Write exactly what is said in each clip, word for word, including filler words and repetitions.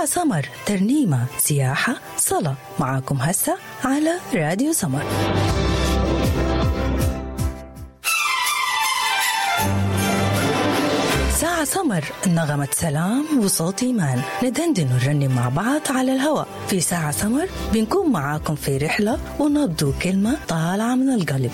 سمر، ترنيمة، سياحة، صلاة، معاكم هسه على راديو سمر. ساعة سمر، نغمة سلام وصوت إيمان، ندندن ونرنم مع بعض على الهواء. في ساعة سمر بنكون معاكم في رحلة ونبدو كلمة طالعة من القلب.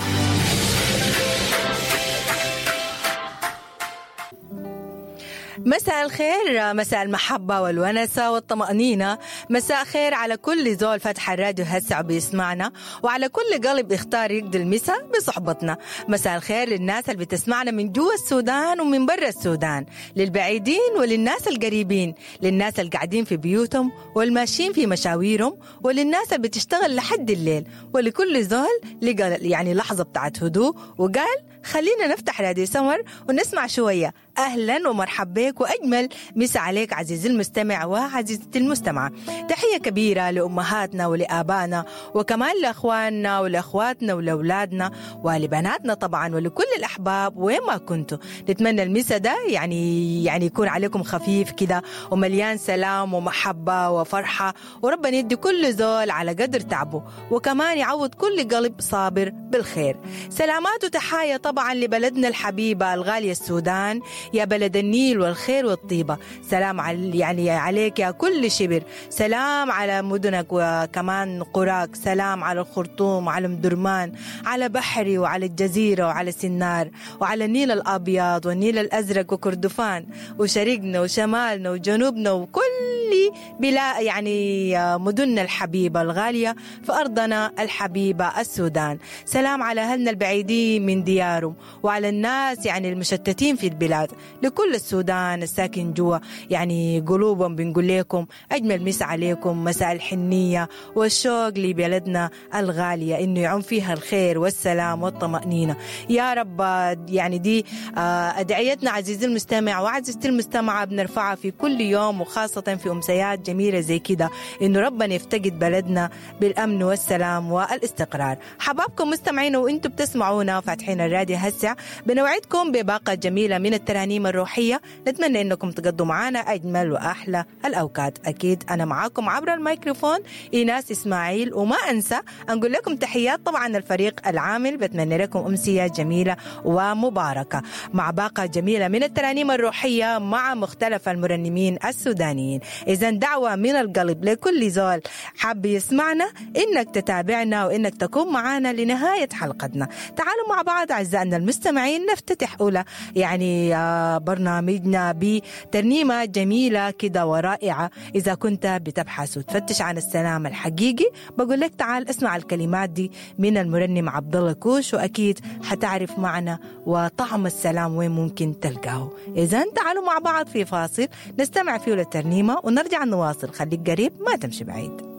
مساء الخير، مساء المحبة والونسة والطمأنينة، مساء خير على كل زول فتح الراديو هسه بيسمعنا، وعلى كل قلب اختار يقضي المساء بصحبتنا. مساء الخير للناس اللي بتسمعنا من جوا السودان ومن برا السودان، للبعيدين وللناس القريبين، للناس اللي قاعدين في بيوتهم والماشيين في مشاويرهم، وللناس اللي بتشتغل لحد الليل، ولكل زول لقى يعني لحظة بتاعت هدوء وقال خلينا نفتح راديو سمر ونسمع شوية. أهلا ومرحبا بك وأجمل مسا عليك عزيزي المستمع وعزيزتي المستمعة. تحية كبيرة لأمهاتنا ولآبائنا، وكمان لأخواننا ولأخواتنا ولأولادنا ولبناتنا طبعا، ولكل الأحباب وين ما كنتوا. نتمنى المسا ده يعني يعني يكون عليكم خفيف كده ومليان سلام ومحبة وفرحة، وربنا يدي كل زول على قدر تعبه، وكمان يعوض كل قلب صابر بالخير. سلامات وتحايا طبعا لبلدنا الحبيبة الغالية السودان، يا بلد النيل والخير والطيبة. سلام على يعني عليك يا كل شبر، سلام على مدنك وكمان قراك، سلام على الخرطوم، على مدرمان، على بحري وعلى الجزيرة وعلى سنار، وعلى النيل الأبيض والنيل الأزرق وكردفان وشرقنا وشمالنا وجنوبنا وكل بلا يعني مدننا الحبيبة الغالية في أرضنا الحبيبة السودان. سلام على أهلنا البعيدين من ديارهم، وعلى الناس يعني المشتتين في البلاد، لكل السودان الساكن جوا يعني قلوبهم. بنقول لكم أجمل مساء عليكم، مساء الحنية والشوق لبلدنا الغالية، إنه يعم فيها الخير والسلام والطمأنينة يا رب. يعني دي أدعيتنا عزيزي المستمع وعزيزتي المستمعة، بنرفعها في كل يوم، وخاصة في أمسيات جميلة زي كده، إنه ربنا يفتقد بلدنا بالأمن والسلام والاستقرار. حبابكم مستمعين وإنتم بتسمعونا فاتحين الراديو هسه، بنوعدكم بباقة جميلة من الترانيم الروحية، نتمنى إنكم تقضوا معنا أجمل وأحلى الأوقات. أكيد أنا معاكم عبر الميكروفون إيناس إسماعيل، وما أنسى أنقول لكم تحيات طبعا الفريق العامل. بتمنى لكم أمسية جميلة ومباركة مع باقة جميلة من الترانيم الروحية مع مختلف المرنمين السودانيين. إذا دعوة من القلب لكل زول حاب يسمعنا إنك تتابعنا وإنك تكون معنا لنهاية حلقتنا. تعالوا مع بعض أعزائنا المستمعين نفتتح أولى يعني برنامجنا بترنيمة جميلة كده ورائعة. إذا كنت بتبحث وتفتش عن السلام الحقيقي، بقول لك تعال اسمع الكلمات دي من المرنم عبد الله كوش، وأكيد حتعرف معنى وطعم السلام وين ممكن تلقاه. إذا تعالوا مع بعض في فاصل نستمع فيه للترنيمة ونرجع نواصل. خليك قريب ما تمشي بعيد.